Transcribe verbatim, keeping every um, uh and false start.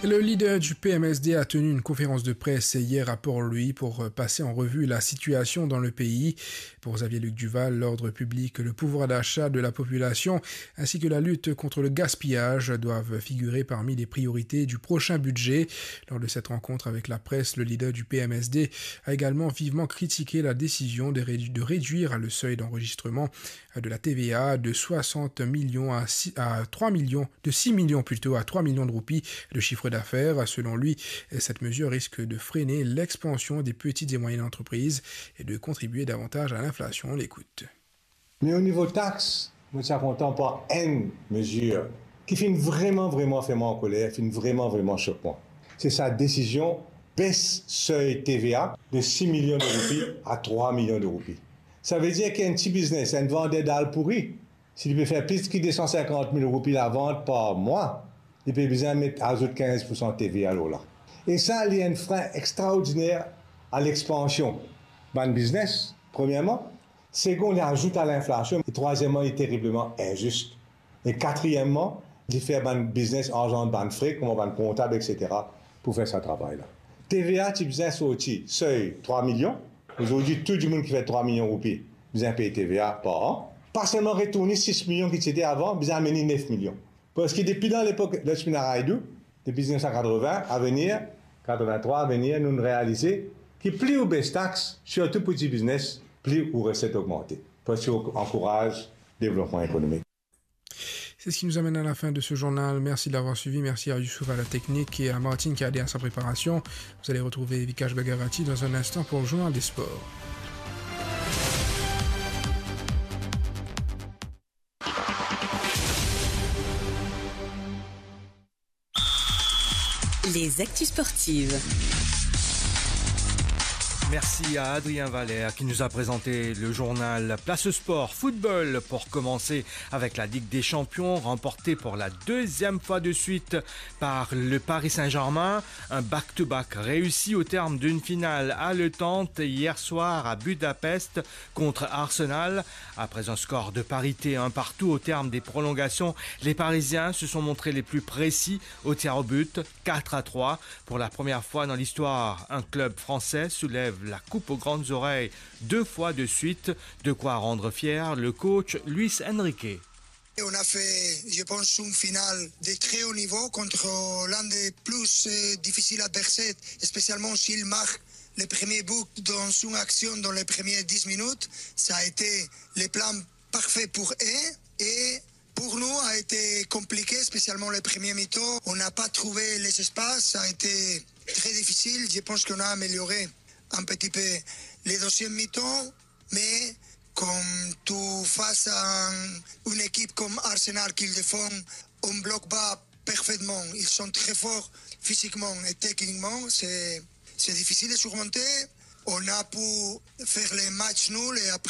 Le leader du P M S D a tenu une conférence de presse hier à Port-Louis pour, euh, passer en revue la situation dans le pays. Pour Xavier Luc Duval, l'ordre public, le pouvoir d'achat de la population ainsi que la lutte contre le gaspillage doivent figurer parmi les priorités du prochain budget. Lors de cette rencontre avec la presse, le leader du P M S D a également vivement critiqué la décision de rédu-, de réduire le seuil d'enregistrement de la T V A de soixante millions à six, à trois millions, de six millions plutôt à trois millions de roupies de chiffre d'affaires. Selon lui, cette mesure risque de freiner l'expansion des petites et moyennes entreprises et de contribuer davantage à l'inflation. On l'écoute. Me o nivo tax, mo ti a kontan pran enn mezir ki finn vreman, vreman fer mwa ankoler, finn vreman, vreman sok mwa. Se sa desizion bes sey T V A de sis milion de roupi a trwa milion de roupi. Savedir ki enn ti biznes, enn vander dal pouri, si li pe fer plis ki de san sinkant mil roupi lavant par mwa, li pe bizin met, azout kinz pou san T V A lor la. E sa, li enn frin extraordiner a lexpansion bann biznes, premierman. Segon, li azout a linflasion. E trwazieman, li teribleman inzis. E katriemman, li fer bann biznes arzan bann fre, kouma bann kontab, etsetera, pou fer sa travay la. T V A ti bizin sorti sey trwa milion. Azordi, tou dimoun ki fer trwa milion roupi bizin pey T V A par an. Pa selman retourn sis milion ki ti ete avan, bizin amenn nef milion. Parski depi dan lepok Laxminarayan, depi mil nef san katrovin, avenir, katrevin-trwa, avenir, nou realize ki pli ou bes tax, sirtou pou ti biznes, pli ou reset ogmante. Parski ou ankouraz devlopman ekonomik. C'est ce qui nous amène à la fin de ce journal. Merci de l'avoir suivi. Merci à Youssouf à la technique et à Martine qui a aidé à sa préparation. Vous allez retrouver Vikash Bhagarati dans un instant pour le journal des sports. Les actus sportives. Merci à Adrien Valère qui nous a présenté le journal Place Sport. Football pour commencer avec la Ligue des Champions remportée pour la deuxième fois de suite par le Paris Saint-Germain. Un back-to-back réussi au terme d'une finale haletante hier soir à Budapest contre Arsenal. Après un score de parité un partout au terme des prolongations, les Parisiens se sont montrés les plus précis au tir au but, quatre à trois. Pour la première fois dans l'histoire, un club français soulève la coupe aux grandes oreilles deux fois de suite, de quoi rendre fier le coach Luis Enrique. On a fait, je pense, une finale de très haut niveau contre l'un des plus, euh, difficiles adversaires, spécialement s'il marque le premier but dans son action dans les premières dix minutes. Ça a été le plan parfait pour eux et pour nous a été compliqué, spécialement les premiers mi-temps. On n'a pas trouvé les espaces, ça a été très difficile. Je pense qu'on a amélioré un petit peu les deuxièmes mi-temps, mais comme tout face à un- une équipe comme Arsenal qui défend, on bloque bas parfaitement. Ils sont très forts physiquement et techniquement. C'est, c'est difficile de surmonter. On a pour faire les matchs nuls et après